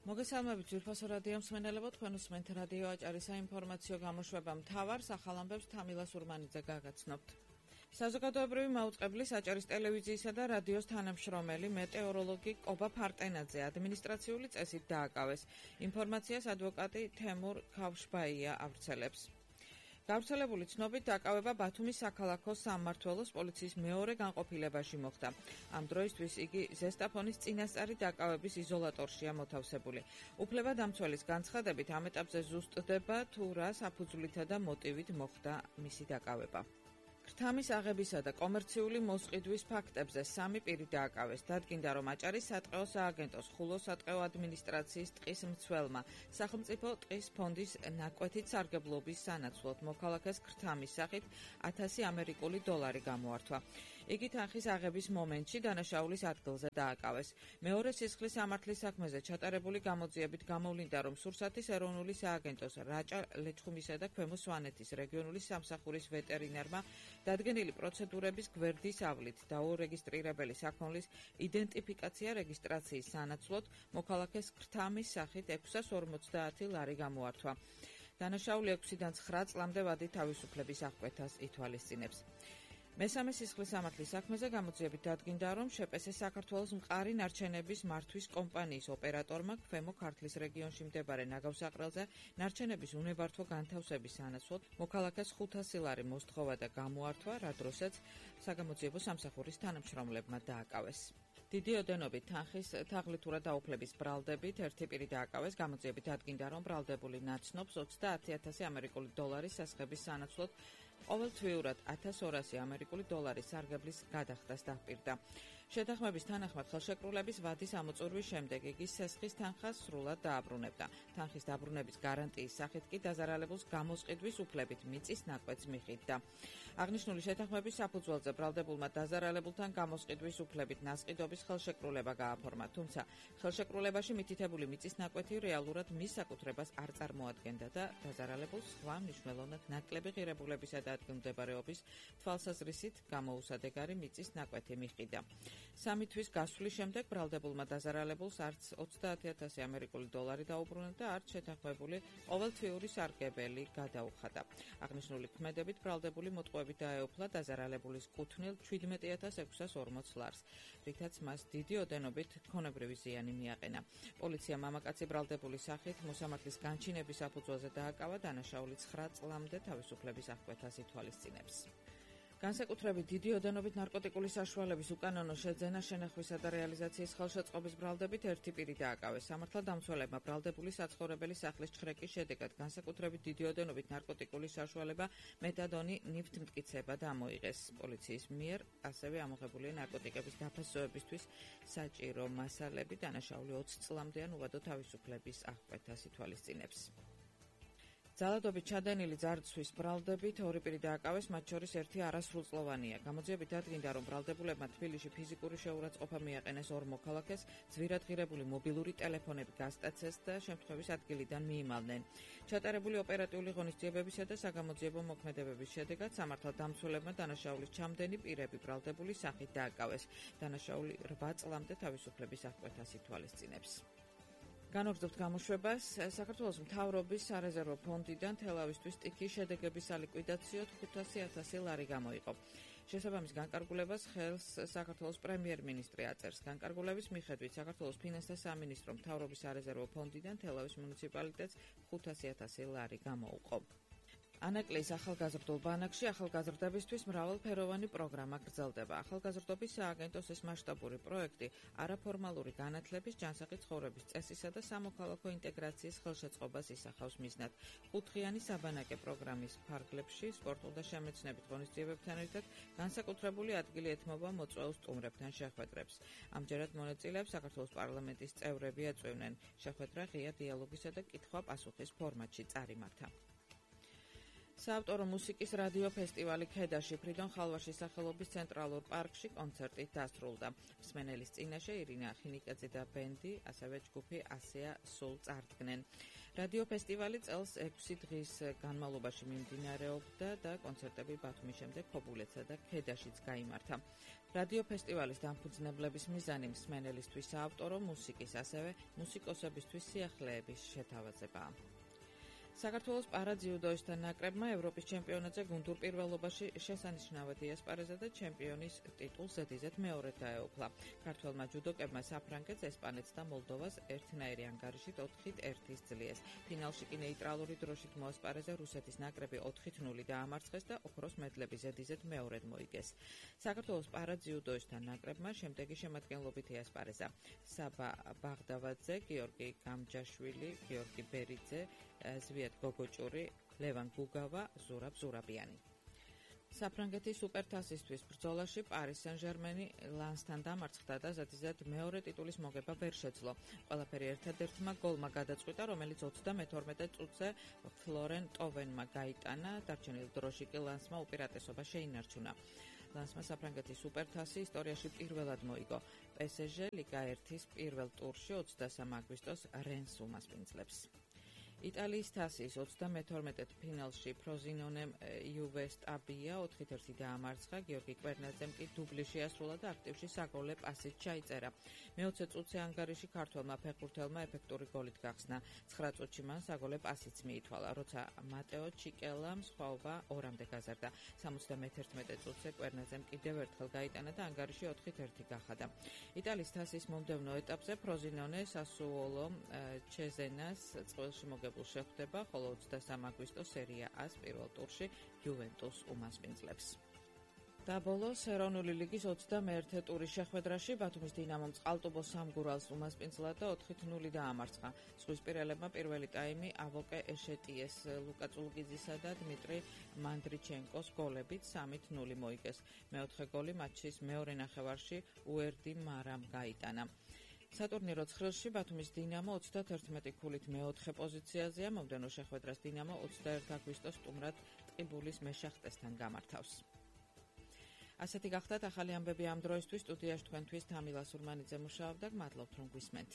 მოგესალმებით ძვირფასო რადიო მსმენელებო, თქვენ უსმენთ რადიო აჭარის საინფორმაციო გამოშვება მთავარ ახალამბებს თამილა სურმანიძე გაგაცნობთ. საზოგადოებრივი მაუწყებლის აჭარის ტელევიზიისა და რადიოს თანამშრომელი მეტეოროლოგი კობა ფარტენაძე ადმინისტრაციული წესით დააკავეს. ინფორმაციას ადვოკატი თემურ ქავშბაია ავრცელებს. გავრცელებული ცნობით დაკავება ბათუმის საქალაქო სამმართველოს პოლიციის მეორე განყოფილებაში მოხდა. ამ დროისთვის იგი ზესტაფონის წინასწარი დაკავების იზოლატორშია მოთავსებული. უფლებადამცველის განცხადებით ამ ეტაპზე ზუსტდება თუ რა საფუძვლითა და მოტივით მოხდა მისი დაკავება. ქრთამის აღებისა და კომერციული მოსყიდვის ფაქტებზე 3 პირი დააკავეს. დადგინდა, რომ აჭარის სატყეო სააგენტოს ხულოს სატყეო ადმინისტრაციის ტყის მცველმა სახელმწიფო ტყის ფონდის ნაკვეთით სარგებლობის სანაცვლოდ მოქალაქეს ქრთამის სახით 1000 ამერიკული დოლარი გამოართვა. იგი თანხის აღების მომენტში დანაშაულის ადგილზე დააკავეს. მეორე სისხლის სამართლის საქმეზე ჩატარებული გამოძიებით გამოვლინდა, რომ სურსათის ეროვნული სააგენტოს რაჭა ლეჩხუმისა და ქვემო სვანეთის რეგიონული სამსახურის ვეტერინარმა დადგენილი პროცედურების გვერდის ავლით დაურეგისტრირებელი საქონლის იდენტიფიკაცია რეგისტრაციის სანაცვლოდ მოქალაქეს ქრთამის სახით 650 ლარი გამოართვა. დანაშაული 6-დან 9 წლამდე ვადი თავისუფლების აღკვეთას ითვალისწინებს. მესამე სისხლის სამართლის საქმეზე გამოძიებით დადგინდა, რომ შპს საქართველოს მყარი ნარჩენების მართვის კომპანიის ოპერატორმა ქვემო ქართლის რეგიონში მდებარე ნაგავსაყრელზე ნარჩენების უნებართვო განთავსების სანაცვლოდ მოქალაქეს 500 ლარი მოსთხოვა და გამოართვა, რა დროსაც საგამოძიებო სამსახურის თანამშრომლებმა დააკავეს. დიდი ოდენობით თანხის თაღლითურად დაუფლების ბრალდებით ერთი პირი დააკავეს. გამოძიებით დადგინდა, რომ ბრალდებული ნაცნობს 30,000 ამერიკული დოლარის სასხების სანაცვლოდ ყოველთვიურად 1200 ამერიკული დოლარის სარგებლის გადახდას დაპირდა. შეთანხმების თანახმად ხელშეკრულების ვადის ამოწურვის შემდეგ იგი სესხის თანხას სრულად დააბრუნებდა. თანხის დაბრუნების გარანტიის სახით კი დაზარალებულს გამოსყიდვის უფლებით მიწის ნაკვეთს მიჰყიდდა. აღნიშნული შეთანხმების საფუძველზე ბრალდებულმა დაზარალებულთან გამოსყიდვის უფლებით ნასყიდობის ხელშეკრულება გააფორმა, თუმცა ხელშეკრულებაში მითითებული მიწის ნაკვეთი რეალურად მის საკუთრებას არ წარმოადგენდა და დაზარალებულს სხვა მნიშვნელოვნად ნაკლები ღირებულებისა და ადგილმდებარეობის თვალსაზრისით გამოუსადეგარი მიწის ნაკვეთი მიჰყიდა. 3 თვის გასვლის შემდეგ ბრალდებულმა დაზარალებულს არც 30,000 ამერიკული დოლარი დაუბრუნა და არც შეთანხმებული ყოველთვიური სარგებელი გადაუხადა. აღნიშნული ქმედებით ბრალდებული მოტყუებით დაეუფლა დაზარალებულის კუთვნილ 17,640 ლარს, რითაც მას დიდი ოდენობით ქონებრივი ზიანი მიაყენა. პოლიცია მამაკაცი ბრალდებულის სახით მოსამართლის განჩინების საფუძველზე დააკავა, დანაშაული 9 წლამდე თავისუფლების აღკვეთას ითვალისწინებს. განსაკუთრებით დიდი ოდენობით ნარკოტიკული საშუალების უკანონო შეძენა, შენახვისა და რეალიზაციის ხელშეწყობის ბრალდებით ერთი პირი დააკავეს. სამართალდამცველებმა ბრალდებული საცხოვრებელი სახლის ჩხრეკის შედეგად განსაკუთრებით დიდი ოდენობით ნარკოტიკული საშუალება მეტადონი ნივთმტკიცება დამოიღეს. პოლიციის მიერ ასევე ამოღებულია ნარკოტიკების დაფასოებისთვის საჭირო მასალები, დანაშაული 20 წლამდეა უვადო თავისუფლების აღკვეთას ითვალისწინებს. ძალადობით ჩადენილი ძარცვის ბრალდებით 2 პირი დააკავეს, მათ შორის ერთი არასრულწლოვანია. გამოძიებით დადგინდა, რომ ბრალდებულებმა თბილისში ფიზიკური შეურაცხყოფა მიაყენეს 2 მოქალაქეს, ძვირადღირებული მობილური ტელეფონები გასტაცეს და შემთხვევის ადგილიდან მიიმალნენ. ჩატარებული ოპერატიული ღონისძიებებისა და საგამოძიებო მოქმედებების შედეგად სამართალდამცველებმა დანაშაულის ჩამდენი პირები ბრალდებულის სახით დააკავეს. დანაშაული 8 წლამდე თავისუფლების აღკვეთას ითვალისწინებს. განაგრძობთ გამოშვებას. საქართველოს მთავრობის სარეზერვო ფონდიდან თელავისთვის ტიქის შედეგების სალიკვიდაციოდ 500,000 ლარი გამოიყო. შესაბამის განკარგულებას ხელს საქართველოს პრემიერ-მინისტრი აწერს. განკარგულების მიხედვით საქართველოს ფინანსთა სამინისტრო მთავრობის სარეზერვო ფონდიდან თელავის მუნიციპალიტეტს 500,000 ლარი გამოუყო. ანაკლიის ახალგაზრდულ ბანაკში ახალგაზრდებისთვის მრავალფეროვანი პროგრამა გრძელდება. ახალგაზრდობის სააგენტოს ეს მასშტაბური პროექტი არაფორმალური განათლების, ჯანსაღი ცხოვრების წესისა და სამოქალაქო ინტეგრაციის ხელშეწყობას ისახავს მიზნად. 5-დღიანი საბანაკე პროგრამის ფარგლებში სპორტულ და შემეცნებით ღონისძიებებთან ერთად განსაკუთრებული ადგილი ეთმობა მოწვეულ სტუმრებთან შეხვედრებს. ამჯერად მონაწილეებს საქართველოს პარლამენტის წევრები ეწვევნენ. შეხვედრა ღია დიალოგისა და კითხვა-პასუხის ფორმატში წარიმართა. საავტორო მუსიკის რადიო ფესტივალი ქედაში ფრიდონ ხალვაშის სახელობის ცენტრალურ პარკში კონცერტით დასრულდა. მსმენელის წინაშე ირინა ხინიკაძე და ბენდი, ასევე ჯგუფი ასეა სულ წარდგნენ. რადიო ფესტივალი წელს 6 დღის განმავლობაში მიმდინარეობდა და კონცერტები ბათუმის შემდეგ ქობულეთსა და ქედაშიც გაიმართა. რადიო ფესტივალის დამფუძნებლების მიზანი მსმენელისთვის საავტორო მუსიკის, ასევე მუსიკოსებისთვის სიახლეების შეთავაზებაა. საქართველოს პარაძიუდოისტთა ნაკრებმა ევროპის ჩემპიონატზე გუნდურ პირველობაში შესანიშნავად იასპარეზა და ჩემპიონის ტიტულს ზედიზედ მეორედ დაეუფლა. ქართველმა ჯუდოკებმა საფრანგეთს, ესპანეთს და მოლდოვას ერთნაირი ანგარიშით 4-1 ძლიერს. ფინალში კი ნეიტრალური დროშით მოასპარეზა რუსეთის ნაკრები 4-0 დაამარცხეს და ოქროს მედლები ზედიზედ მეორედ მოიგეს. საქართველოს პარაძიუდოისტთა ნაკრებმა შემდეგი შემადგენლობით იასპარეზა: საბა ბაღდავაძე, გიორგი გამჯაშვილი, გიორგი ბერიძე, ზვიად გოგოჭური, ლევან გუგავა, ზურაბ ზურაბიანი. საფრანგეთის სუპერთასისთვის ბრძოლაში პარის სენ-ჟერმენი ლანსთან დამარცხდა და ზედიზედ მეორე ტიტულის მოგება ვერ შეძლო. ყველაფერი ერთადერთმა გოლმა გადაწყვიტა, რომელიც 32 წუთზე ფლორენ ტოვენმა გაიტანა, დარჩენილ დროში კი ლანსმა უპირატესობა შეინარჩუნა. ლანსმა საფრანგეთის სუპერთასი ისტორიაში პირველად მოიგო. PSG ლიგა 1-ის პირველ ტურში 23 აგვისტოს რენს უმასპინძლებს. იტალიის თასის 32 ფინალში ფროზინონემ იუვეს ტაბია 4-1 დაამარცხა, გიორგი კვერნაძემ კი დუბლი შეასრულა და აქტივში საგოლე პასით ჩაიწერა. მე-20 წუთზე ანგარიში ქართველმა ფეხბურთელმა ეფექტური გოლით გახსნა. 9 წუთში მან საგოლე პასიც მიითვალა, როცა მატეო ჩიკელამ სხვაობა 2-მდე გაზარდა. 71 წუთზე კვერნაძემ კიდევ ერთხელ გაიტანა და ანგარიში 4-1 გახადა. იტალიის თასის მომდევნო ეტაპზე ფროზინონე სასუოლო ჩეზენას წყვილში შეხვდება, ხოლო 23 აგვისტოს სერია A-ს პირველ ტურში იუვენტუს უმასპინძლებს. და ბოლოს ეროვნული ლიგის 21 ტურის შეხვედრაში ბათუმის დინამომ წყალტუბოს სამგურალს უმასპინძლა და 4-0 დაამარცხა. ზღვისპირელებმა პირველი ტაიმი ავოკე ეშეტიეს, ლუკა წულგიძისა და დმიტრი მანდრიჩენკოს გოლებით 3-0 მოიგეს. მეოთხე გოლი მატჩის მეორე ნახევარში უერდი მარამ გაიტანა. სატურნირო ცხრილში ბათუმის დინამო 31 ქულით მეოთხე პოზიციაზეა. მომდევნო შეხვედრას დინამო 21 აგვისტოს სტუმრად ტყიბულის მეშახტესთან გამართავს. ასეთი გახდათ ახალი ამბები ამ დროისთვის. სტუდიაში თქვენთვის თამილა სურმანიძე მუშაობდა. გმადლობთ რომ გვისმენთ.